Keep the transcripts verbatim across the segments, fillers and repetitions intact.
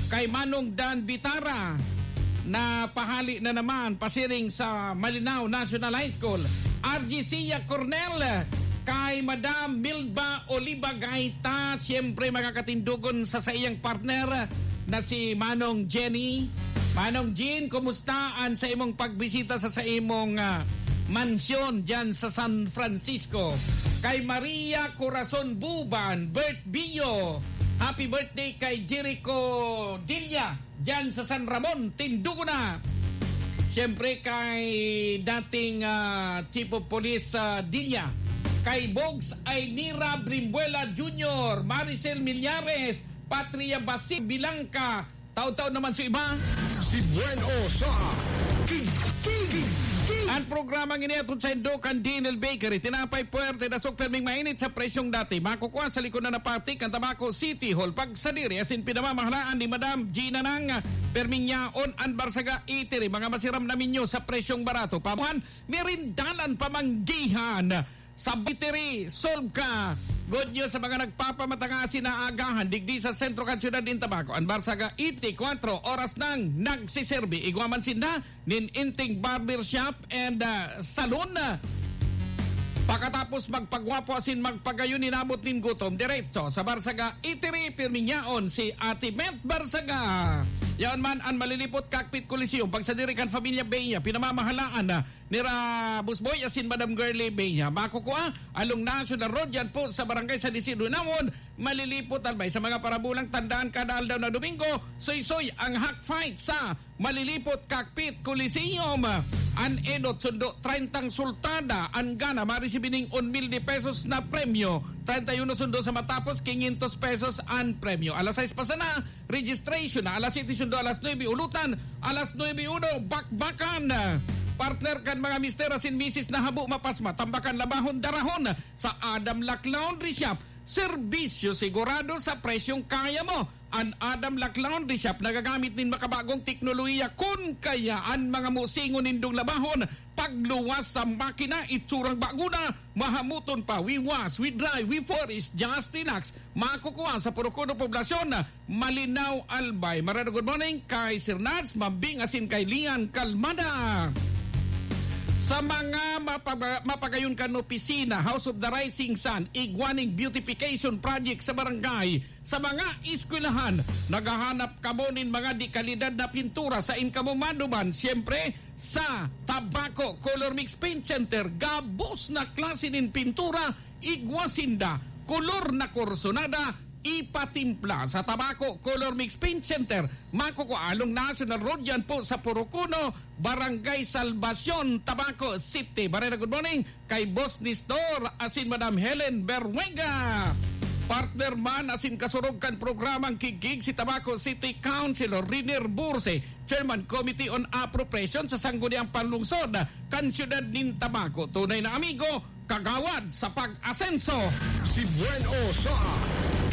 Kay Manong Dan Bitara, na pahali na naman pasiring sa Malinao National High School. R G Sia Cornel, kay Madam Milba Oliva Gaita, siyempre mga katindogon sa saiyang partner na si Manong Jenny. Manong Jean, kumusta an sa imong pagbisita sa, sa imong, ah, mansyon dyan sa San Francisco? Kay Maria Corazon Buban, Bert Bio, happy birthday kay Jericho Dilla, dyan sa San Ramon, Tindugo na. Siyempre kay dating, ah, Chief of Police, ah, Dilla. Kay Bogs Aynira Brimbuela Junior, Maricel Millares, Patria Basil Bilangka, taon-taon naman sa iba. Si Buen O sa Kig-, Kig-, Kig-. Ang programang ini hatod saindo kan D N L Bakery. Tinapay puwerte, dasog perming mainit sa presyong dati. Makukua sa likod na napati kan Tabaco City Hall. Pagsadiri asin pinamamahalaan ni Madam Gina Nang, perming yaon an Barsaga Eatery. Mga masiram na menyu sa presyong barato. Pamuhan, merindalan, pamanggihan. Sa Bitiri, solve ka. Good news sa mga nagpapamata asin naagahan digdi sa sentro kan siyudad nin Tabaco. An Barsaga eighty-four oras nang nagsiserbi. Igwa man sinda nin inting barbershop and, ah, salon. Pakatapos magpagwapo asin magpagayon, inabot nin gutom, diretso sa Barsaga Eatery, pirming yaon si Ate Met Barsaga. Yaon man an Malilipot Cockpit Coliseum, pagsadiri kan Familia Bea, pinamamahalaan na nira Boss Boy asin Madam Girlie Bea. Makukua along National Road, yan po sa Barangay San Isidro Inamon, Malilipot, Albay. Sa mga parabulang, tandaan, kada aldaw na Domingo, suysoy ang Hack Fight sa Malilipot Cockpit Coliseum. An enot sundo, treyntang sultada an gana, maresibi nin un mil de pesos na premyo. Treinta y uno sundo sa matapos, quinientos pesos an premyo. Alas sais pa sana, registration na alas siyete sundo alas nuebe, ulutan alas nuebe uno, bakbakan. Partner kan mga mister asin misis na habo mapasma, tambakan, labahon, darahon sa Adam Lac Laundry Shop. Serbisyo sigurado sa presyong kaya mo. An Adam Lac Laundry Shop nagagamit nin makabagong teknolohiya. Kun kaya an mga musingon nindong labahon, pagluwas sa makina, itsurang bago na, mahamuton pa, we wash, we dry, we polish, just relax. Makukua sa Purok Uno Poblasyon, Malinao, Albay. Marada, good morning kay Sir Nats, Mambing asin kay Lian Kalmada. Sa mga mapaba-, mapagayon kan opisina, House of the Rising Sun, igwa ning beautification project sa barangay, sa mga eskwelahan, naghahanap kamo nin mga de kalidad na pintura, sain kamo maduman, siyempre, sa Tabaco Color Mix Paint Center. Gabos na klase nin pintura, igwa sinda, kolor na kursunada, ipatimpla sa Tabaco Color Mix Paint Center. Makukua along National Road, yan po sa Purok Uno, Barangay Salvacion, Tabaco City. Barena, good morning kay Boss Nestor asin Madam Helen Berwega. Partner man asin kasurog kan programang Kigkig, si Tabaco City Councilor Riner Burse, Chairman Committee on Appropriation sa Sangguniang Panlungsod kan Siyudad nin Tabaco. Tunay na amigo, kagawad sa pag-asenso. Si Buen O sa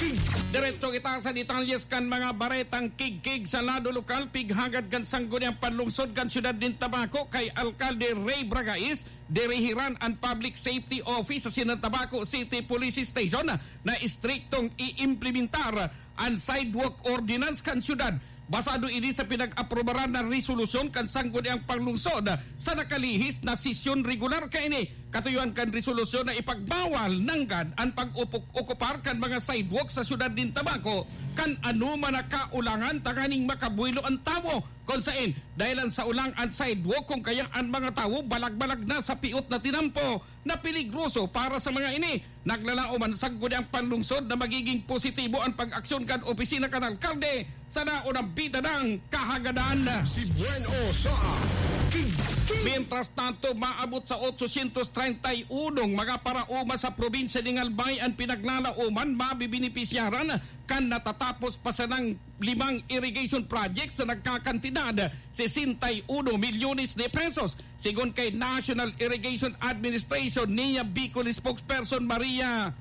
Kig-. Diretso kita sa detalyes kan mga baretang Kigkig sa lado lokal, pighagad kan Sangguniang Panlungsod kan Siyudad nin Tabaco kay Alkalde Ray Bragais. Dirihiran an Public Safety Office sa Sinan Tabaco City Police Station na istriktong iimplementar an sidewalk ordinance kan siyudad. Basado ini sa pinag-aprobaran na resolusyon kan Sangguniang Panglungsod sa nakalihis na sesyon regular kaini. Katuyuan kan resolusyon na ipagbawal nanggad an pag-upok-okupar kan mga sidewalk sa siyudad nin Tabaco kan anoman na kaulangan tanganing makabuelo an tawo. Kun saen, dahelan sa ulang an sidewalk, kun kaya an mga tawo balag-balag na sa piot na tinampo na peligroso para sa mga ini. Naglalaom an Sangguniang Panlungsod na magiging positibo an pag-aksyon kan opisina kan alkalde sa naunang bitanang kahagadan. Si Buen O sa Kigkig. Mientras tanto, maabot sa otsosyentos treinta y uno mga paraoma sa probinsya nin Albay an pinaglalaoman mabibenepisyaran kan natatapos pa sanang limang irrigation projects na nagkakantidad sesenta y uno milyones de pesos. Segun kay National Irrigation Administration, N I A Bicol spokesperson Maria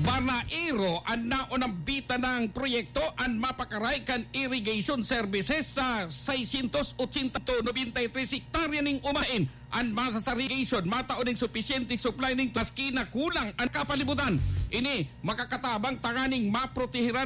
Banaero, an naunang bitanang proyekto an mapakaray kan irrigation services sa seiscientos ochenta to noventa y tres hektarya ning umain. An masasarigation, matao ning supisyenteng supply ning maski na kulang an kapalibutan. Ini makakatabang tanganing maprotehiran